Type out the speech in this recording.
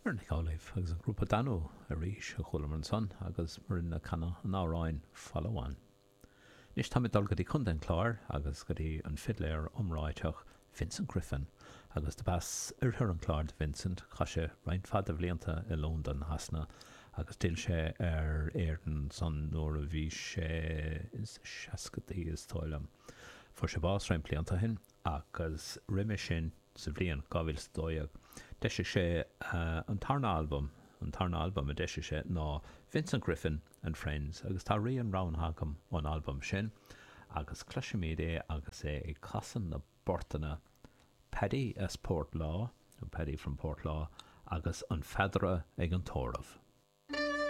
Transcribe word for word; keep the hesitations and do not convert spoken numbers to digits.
Muireann Nic Amhlaoibh agus an grúpa Danú arís a chualamar ansan agus Muireann ag canadh an amhráin Follow On. Anois táimid ag dul go dtí Contae an Chláir agus go dtí an fidléir iomráiteach Vincent Griffin agus dob as oirthear an Chláir do Vincent, chaith sé roinnt mhaith de bhlianta i Londain, Shasana agus d'fhill sé ar Éirinn ansan nuair a bhí sé ins na seascadaí is dóigh liom. Fuair sé bás roinnt blianta ó shin agus roimhe sin sa bhliain dhá mhíle is a dó dhéag d'eisigh sé an tarna albam, an tarna albam a d'eisigh sé ná Vincent Griffin and Friends agus tá rian roghnaithe agam ón albam sin agus cloisfimid é agus é ag casadh na bportanna Paddy as Port Lá, nó Paddy from Portlaw, agus An Feadaire ag an Tórramh.